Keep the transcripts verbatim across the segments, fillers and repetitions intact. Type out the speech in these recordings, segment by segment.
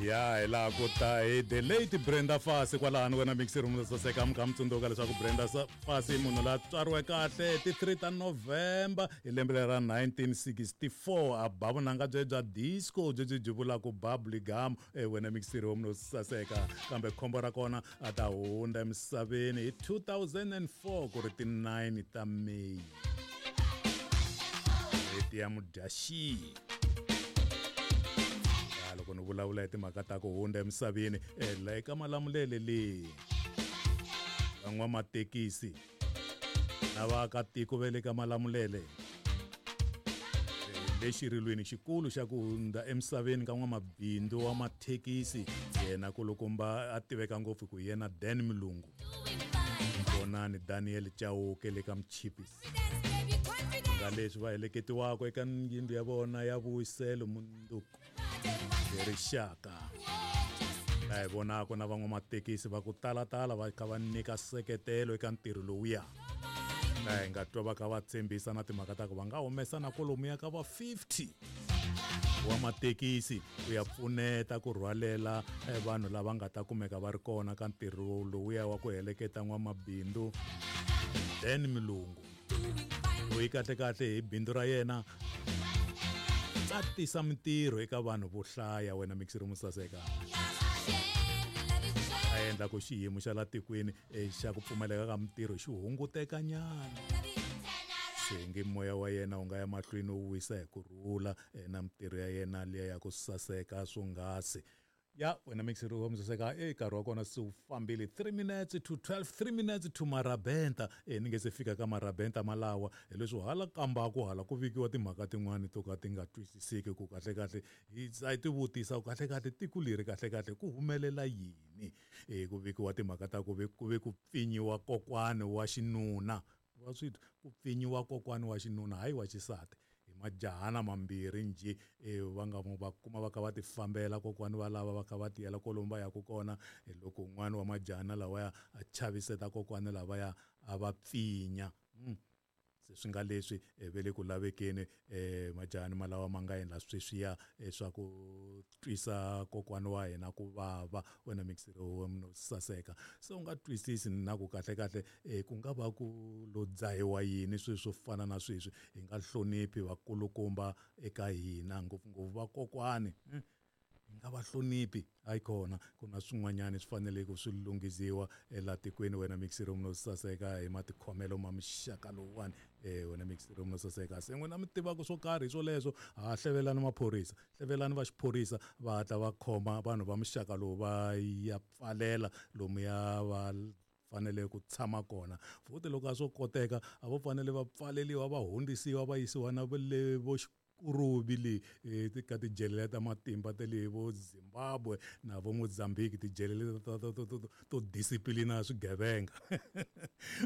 Ya hi laha ku ta hi the late Brenda Fassie kwalano wena mixer room saseka mi kha mi tsundzuka leswaku Brenda Fassie i munhu la tswariwe kahle ti three ta November hi lembe ra nineteen sixty-four a ba vunanga bye bya disco byi byi vulaka bubbly gum wena mixer room no saseka kambe khombo ra kona a ta hundza emisaveni hi two thousand and four ku ri ti nine ta May leti ya Mudyaxihi. Loko ni vulavula hi timhaka ta ku hundza emisaveni la eka Malamulele le van'wamathekisi na vaakatiko va le ka Malamulele le xirilweni xikulu xa ku hundza emisaveni ka n'wamabindzu wa mathekisi yena kulukumba a tiveka ngopfu ku yena Dan Mulungu vonani Daniel Chauke le ka Mchipisi nga leswi va heleketiwaka eka yindlu ya vona ya vuyiselo munduku rixaka la hi vonaka na van'wamathekisi va ku talatala va kha va nyika seketelo eka ntirho lowuya la hi nga twa va kha va tshembisa na timhaka ta ku va nga humesa na kwalomuya ka va fifty wa mathekisi ku ya pfuneta ku rhwalela vanhu lava nga ta kumeka va ri kona ka ntirho lowuya wa ku heleketa n'wamabindzu Dan Mulungu loyi kahlekahle hi bindzu ra yena a tisa mintirho eka vanhu vo hlaya wena mixer room saseka a endla ku xiyimo xa la tikweni xa ku pfumaleka ka mintirho xi hunguteka nyana se nge moya wa yena wu nga ya mahlweni wu wisa hi ku rhula na mintirho ya yena liya ya ku saseka swonghasi ya wena mixer room saseka e nkarhi wa kona se wu fambile three minutes to twelve three minutes to Marabenta e ni nge se fika ka Marabenta malawa hi leswi hala kambaku hala ku vikiwa timhaka tin'wani to ka ti nga twisiseki ku kahlekahle hi a ti vutisa ku kahlekahle tiko leri kahlekahle ku humelela yini e ku vikiwa timhaka ta ku ve ku ve ku pfinyiwa kokwani wa xinuna wa swi ku pfinyiwa kokwani wa xinuna hayi wa xisati hi majahana mambirhi njhe va nga va kuma va kha va ti fambela kokwani va lava va kha va tiyela kwalomu va yaka kona hi loko un'wana wa majahana lawaya a chaviseta kokwani lavaya a va pfinya se swi nga leswi ve le ku lavekeni majahani malawa ma nga endla sweswiya swa ku twisa kokwani wa hina ku vava wena mixer room saseka se u nga twisisi na ku kahlekahle ku nga va ku lo dzahiwa yini swilo swo fana na sweswi hi nga hloniphi vakulukumba eka hina ngopfungopfu vakokwani hi nga va hloniphi hayi kona ku na swin'wanyana swi fanele ku swi lunghisiwa ela tikweni wena mixer room no saseka hi matikhomelo ma mixaka lowuwani wena mixer room no saseka se n'wina mi tivaka swo karhi hi swoleswo ha hlevelani maphorisa hlevelani va xiphorisa va hatla va khoma vanhu va muxaka lowu va ya pfalela lomuya va fanele ku tshama kona futhi loko a swo koteka a vo fanele va pfaleliwa va hundzisiwa va yisiwa na le vo Kurubi le ka tijele ta matimba ta le vo Zimbabwe na vo Mozambique tijele ta to to to disciplina swigevenga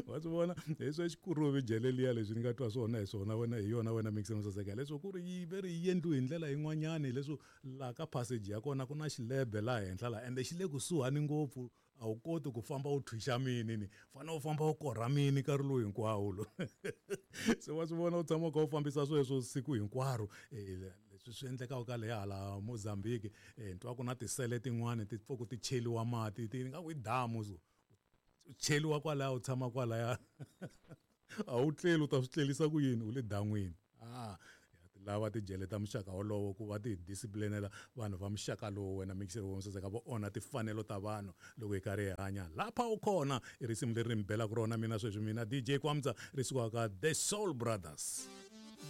wa swi vona hi swa Xikurubi jele liya leswi ni nga twa swona hi swona wena hi yona wena mixer room saseka leswo ku ri yi ve ri yi endliwe hi ndlela yin'wanyani leswo laha ka passage ya kona ku na xilebe laha henhla laha ende xi le kusuhani ngopfu a wu koti ku famba u thwixa mini ni fanele u famba u korha mini nkarhi lowu hinkwawo lo se wa swi vona u tshama u kha u fambisa sweswo siku hinkwaro leswi swi endlekaka ka le hala Mozambique ni twa ku na tisele tin'wani ti pfuka ti cheliwa mati ti nga ku i damu so u cheliwa kwalaya u tshama kwalaya a wu tleli u ta swi tlelisa ku yini u le dan'wini ah lava tijele ta muxaka wolowo ku va ti disciplinela vanhu va muxaka lowu wena mixer room saseka vo onha timfanelo ta vanhu loko hi karhi hi hanya lapha u kona i risimu leri ni mi belaka rona mina sweswi mina D J Kwamza ri sukaka The Soul Brothers.